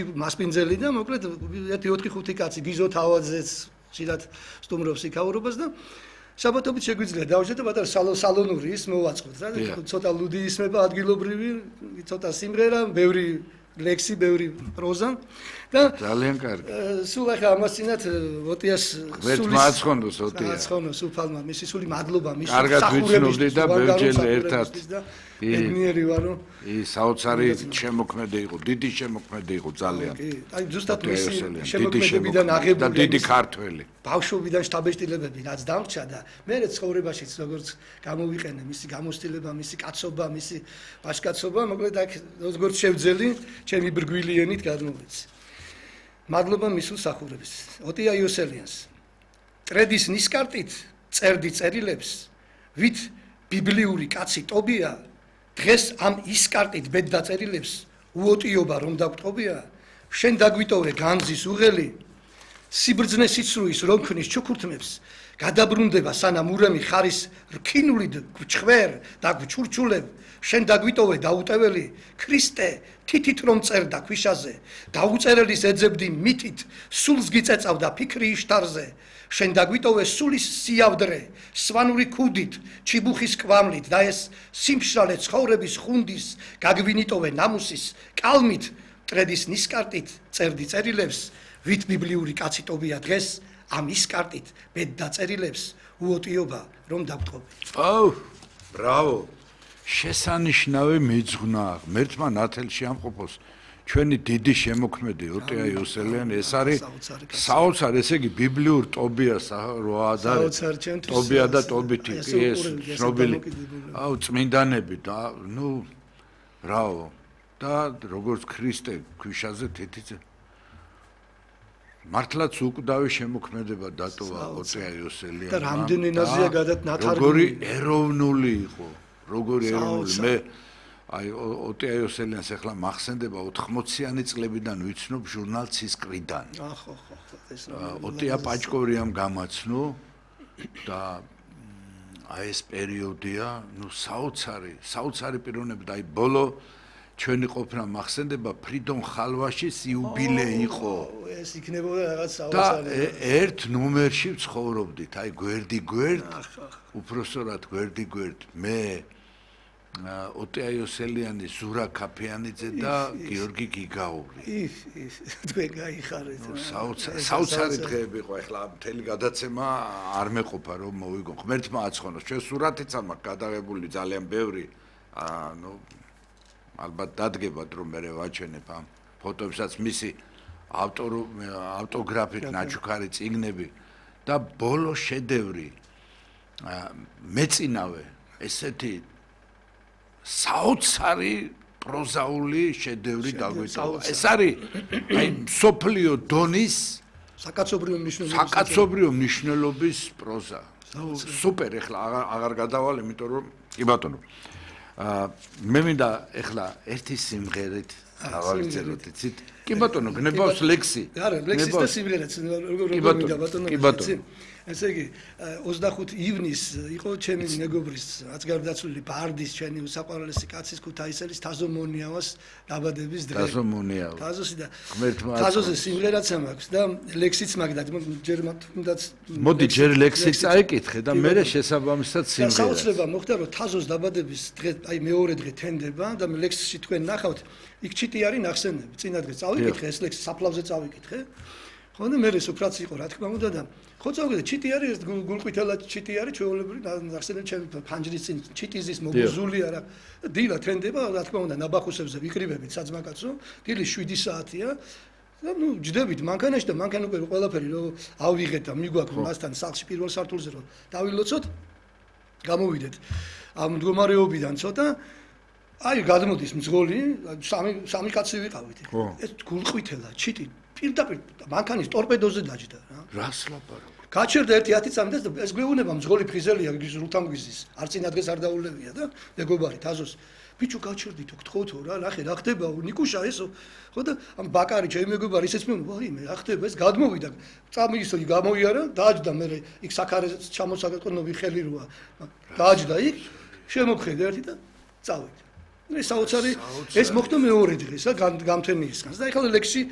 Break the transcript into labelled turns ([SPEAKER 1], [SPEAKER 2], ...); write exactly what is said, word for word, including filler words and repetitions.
[SPEAKER 1] მასპინძელი და მოკლედ ერთი ოთხი ხუთი კაცი გიზო თავაძეც შეიძლება სტუმრობს იქაურობას და საბათობით შეგვიძლია დავжეთ და პატარა სალონური ის მოვაწყოთ რა ცოტა ლუდი ისმება ადგილობრივი ცოტა სიმღერა ბევრი ლექსი ბევრი პროზა და
[SPEAKER 2] ძალიან კარგი
[SPEAKER 1] სულ ახლა ამასინათ ოტიას
[SPEAKER 2] სულ მაცხონდოს ოტია
[SPEAKER 1] მაცხონდოს უფალმა მისი სული მადლობა მისი
[SPEAKER 2] კარგად ვიცნობდი და ბევრჯერ ერთად
[SPEAKER 1] ეგნიერი ვარო
[SPEAKER 2] ის საოცარი შემოქმედი იყო დიდი შემოქმედი იყო ძალიან
[SPEAKER 1] აი ზუსტად მისი შემოქმედებიდან აღებული
[SPEAKER 2] და დიდი ქართველი
[SPEAKER 1] ბავშვობიდან შტაბეშტილებები რაც დამრჩა და მე ცხოვრებაშიც როგორც გამოვიყენე მისი გამოსtildeება მისი კაცობა მისი ბაშკაცობა მოკლედ აქ როგორც შევძელი ჩემი ბრგვილიენით გადმოვეცი მადლობა მისულ სახურების ოტია იოსელიანს ტრედის ნისკარტით წერდი წერილებს ვით ბიბლიური კაცი ტობია დღეს ამ ისკარტით ბედ დაწერილებს უოტიობა რომ დაგტყობია შენ დაგვიტოვე განძის უღელი სიბრძნე სიცრუის რომ ქნის ჩუქურთმებს გადაბრუნდება სანამ ურემი ხარის რქინული გჩხვერ და გჩურჩულებ შენ დაგვიტოვე დაუტეველი ქრისტე თითით რომ წერდა ქვიშაზე დაუწერელის ეძებდი მითით სულს გიწეწავდა ფიქრი იშტარზე შენ დაგვიტოვე სულის სიავდრე სვანური ქუდით ჩიბუხის კვამლით და ეს სიმშრალე ცხოვრების ხუნდის გაგვინიტოვე ნამუსის კალმით ტრედის ნისკარტით წერდი წერილებს ვით ბიბლიური კაცი ტობია დღეს ამ ისკარტით ბედ დაწერილებს უოტიობა რომ დაგტყობე
[SPEAKER 2] აუ ბრავო შესანიშნავი მიძღვნა ღმერთმა ნათელში ამყოფოს ჩვენი დიდი შემოქმედი ოტია იოსელიანი ეს არის საოცარი ესე იგი ბიბლიურ ტობიას რო ადარე ტობია და ტობითი ეს ცნობილი აუ წმინდანები და ნუ ბრავო და როგორც ქრისტე ქვიშაზე თითიზე მართლაც უკვდავი შემოქმედება დატოვა ოტია იოსელიანი
[SPEAKER 1] და რამდენი ენაზეა გადათარგმნილი
[SPEAKER 2] როგორი ეროვნული იყო როგორი ეროვნული მე აი ოტია იოსელიანს ახლა მახსენდება ოთხმოციანი წლებიდან ვიცნობ ჟურნალ ცისკრიდან
[SPEAKER 1] ახო ხო ეს
[SPEAKER 2] ოტია პაჭკორიამ გამაცნო და აი ეს პერიოდია ნუ საოცარი საოცარი პიროვნები და აი ბოლო ჩვენი ყოფნა მახსენდება ფრიდონ ხალვაშის იუბილეი იყო
[SPEAKER 1] ეს იქნებოდა რაღაც საოცარი
[SPEAKER 2] და ერთ ნომერში ცხოვრობდით აი გვერდი გვერდ უпроსორად გვერდი გვერდ მე ოტია იოსელიანი ზურა ქაფიანიძე და გიორგი გიგაური
[SPEAKER 1] ის ის თქვენ გაიხარეთ
[SPEAKER 2] საოცარი საოცარი დღეები იყო ახლა მთელი გადაცემა არ მეყოფა რომ მოვიგო ღმერთმა აცხონოს ჩვენ სურათიც ამაქვს გადაღებული ძალიან ბევრი ანუ ალბათ დადგებათ რომ მე ვაჩვენებ ამ ფოტოებსაც მისი ავტორ ავტოგრაფით ნაჩუქარი წიგნები და ბოლო შედევრი მეწინავე ესეთი საოცარი პროზაული შედევრი დაგვეტოვა ეს არის აი სოფლიო დონის
[SPEAKER 1] საკაცობრიო მნიშვნელობის
[SPEAKER 2] საკაცობრიო მნიშვნელობის პროზა სუპერ ეხლა აღარ გადავალ იმიტომ რომ კი ბატონო მე მინდა ეხლა ერთი სიმღერით გავაგრძელოთ იცით კი ბატონო გნებავს ლექსი
[SPEAKER 1] არა ლექსის და სიმღერაც როგორ მინდა ბატონო
[SPEAKER 2] კი ბატონო
[SPEAKER 1] ესე იგი ოცდახუთი ივნისს იყო ჩემი მეგობრის რაც გარდაცვლილი ბარდის ჩვენი უსაყვარლესი კაცის ქუთაისელის თაზო მონიავას დაბადების დღე
[SPEAKER 2] თაზო მონიავა
[SPEAKER 1] თაზოსი და
[SPEAKER 2] ღმერთმა
[SPEAKER 1] თაზოზე სიმღერაც მაქვს და ლექსიც მაქვს და ჯერ თუნდაც
[SPEAKER 2] მოდი ჯერ ლექსიც წაიკითხე და მე შესაბამისად სიმღერა
[SPEAKER 1] საოცრება მოხდა რომ თაზოს დაბადების დღე აი მეორე დღე თენდება და ლექსში თქვენ ნახავთ იქ ჩიტი არის ნახსენები წინა დღე წავიკითხე ეს ლექსი საფლავზე წავიკითხე ხო და მე ეს უკრაც იყო რა თქმა უნდა და ხო წავიდე ჩიტი არის ეს გულყვითელა ჩიტი არის ჩვეულებრივი ნახსენები ჩემ ფანჯრის წინ ჩიტიზის მოგზული არა დილა თენდება რა თქმა უნდა ნაბახუსებზე ვიკრიბებით საძმაკაცო დილის შვიდი საათია და ნუ ჯდებით მანქანაში და მანქანა უკვე ყველაფერი რომ ავიღეთ და მიგვაქვს მასთან სახლში პირველ სართულზე რომ დავილოცოთ გამოვიდეთ ამ მდგომარეობიდან ცოტა აი გადმოდის მძღოლი სამი სამი კაცი ვიყავით ეს გულყვითელა ჩიტი პირდაპირ მანქანის ტორპედოზე დაჯდა რა
[SPEAKER 2] რას ლაპარაკობ
[SPEAKER 1] გაჩერდა ერთი ათი წამი და ეს გვეუბნება მძღოლი ფრიზელია რუთამგვიზის არ წინა დღეს არ დაულევია და მეგობარი თაზოს ბიჭო გაჩერდითო გთხოვთო რა ნახე რა ხდება ნიკუშა ესო ხო და ამ ბაკარი ჩემი მეგობარი ისეც მე ვაი მე რა ხდება ეს გადმოვიდა წამისო გამოვიარა დაჯდა მე იქ საქარე ჩამოსაგატყნობი ხელი როა დაჯდა იქ შემოხედე ერთი და წავიდა ეს საოცარი ეს მოხდა მეორე დღეს რა გამთენიისგანს და ეხლა ლექსი